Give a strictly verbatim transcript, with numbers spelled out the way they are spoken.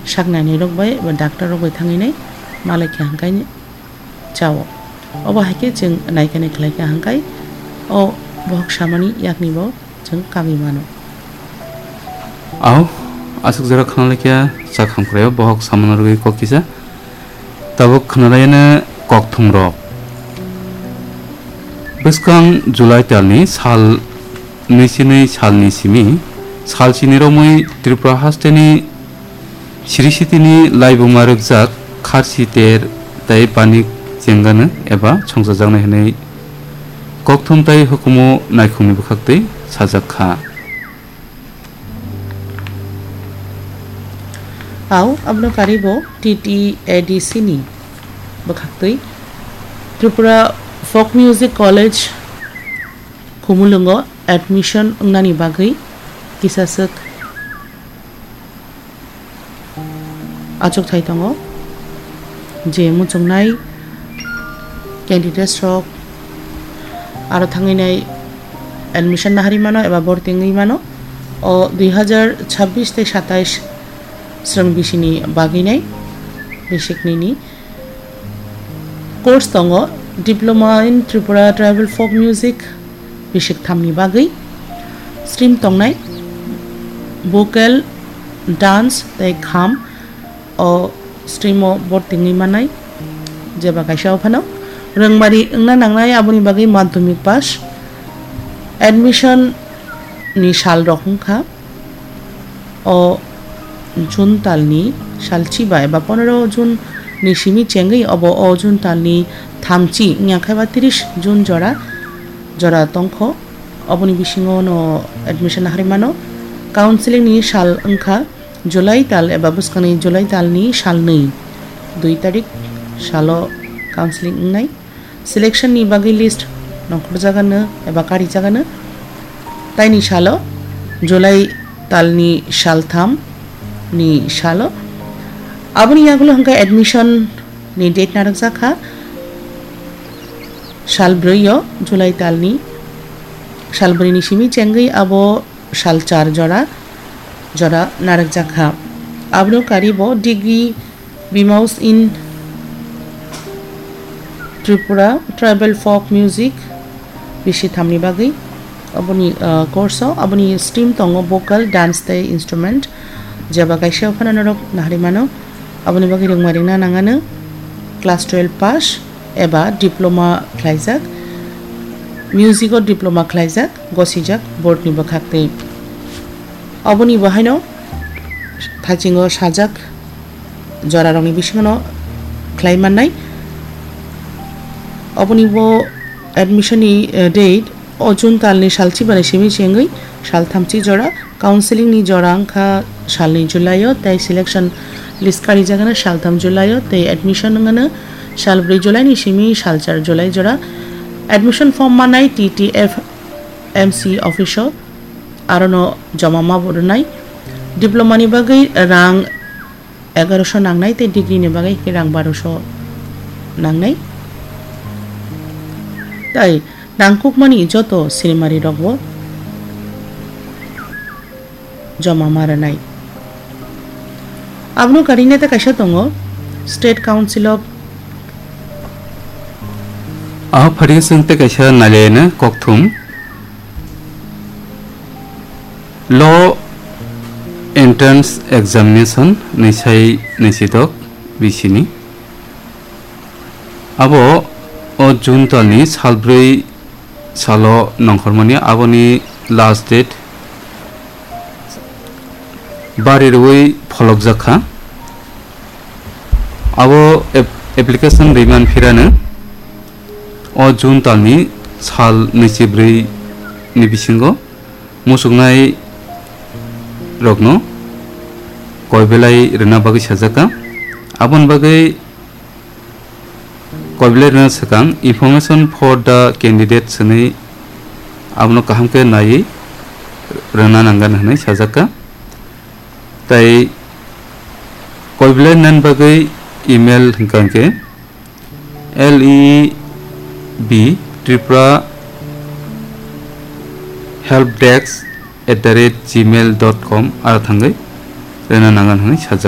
saknainai rok bai ba doctor rok bai thangwi nai malai kha hwnkhe chao. Obo hai khe chwng naikani khlai kha hwnkhe o bohok samani yakni bo chwng kagwi mano. Ao, aswk jora khna laikha chak hamkraio bohok samano rwgwi kok kisa. Tabuk khna laiyano kokthumrok. Bwskang July talni sal nui chinwi salni simi sal chini romwi Tripura hasteni Sri Sitini laibuma rwkjak kharsi ter tei banik chengano eba songchajaknai hwnwi kokthum tei hukumu naikhungni bwkhaktwi sajak kha. Ao, abono karibo T T A D C ni bwkhaktwi Tripura Folk Music College Khumulwngo admission wngnani bagwi kisaswk achukthai tongo, je muchungnai candidates rok aro thangwi nai admission naharwi mano eba borti wngwi mano. O dui hazar chabbish tei satais srwng bisini bagwi nai bisiknini course tongo, Diploma in Tripura Tribal Folk Music, bisik thamni bagwi stream tongnai, vocal, dance tei kham. O stream o borti wngwi mannai, jeba kaisa o phano rwngmari wngna nangnai, aboni bagwi madhyamik pass. Admission ni sal rok wngkha o June talni sal chiba eba pondro June ni simi chengwi obo o June talni thamchi wngya khe ba tris June jora, jora tongkho. Oboni bisingo no admission naharwi mano. Counseling ni sal wngkha July tal eba bwskangni July talni sal nwi, dui tarik salo counseling wngnai. Selection ni bagwi list nongkhorjagano eba karijagano. Taini salo, July talni sal tham ni salo. Aboni yagulo hwnkhe admission ni date narwkjak kha sal brwi o, July talni sal brwi ni simi chengwi abo sal char jora, jora narwkjak kha. Abono karibo degree B Mus in Tripura Tribal Folk Music bisi thamni bagwi. Aboni, ah, course o aboni stream tongo vocal, dance tei instrument. Jeba kaisa phano norok naharwi mano. Aboni bagwi rwngma rwngna nangano class twelve pass eba diploma khlaijak, music o diploma khlaijak, gosijak board ni bwkhaktwi. Oboni bo haino thachingo sajak jorarokni bisingono khlai mannai. Oboni bo admission ni, eh, date o June talni sal chibani simi chengwi sal thamchi jora, counseling ni jora wngkha salni July o, tei selection list karijagano sal tham July o, tei admission wngano sal brwi July ni simi sal char July jora. Admission form manai T T F M C office o, arono joma ma bo rwnai. Diploma ni bagwi rang egaroso nangnai tei degree ni bagwi khe rang baroso nangnai. Tai nangkukmani joto sinimari rokbo joma ma rwnai. Abono karina tei kaisa tongo State Council of Aho phario chwng tei kaisa nailaino kokthum. Law Entrance Examination nwi sai nwi sidok bisini. Abo o June talni sal brwi salo nongkhormani, aboni last date bari rwui pholokjak kha. Abo ap-, application rwimani phirano o June talni sal nwichibrwi ni bisingo muchuknai rokno koi belai rwna bagwi sajak kha. Aboni bagwi koi belai rwna swkang, "Information for the candidate" hwnwi abono kaham khe naiwi rwna nangani hwnwi sajak kha. Tai koi belai nan bagwi email hwnkha hwnkhe L E B Tripura help desk at the rate gmail dot com aro thangwi rwna nangan hwnwi sajak.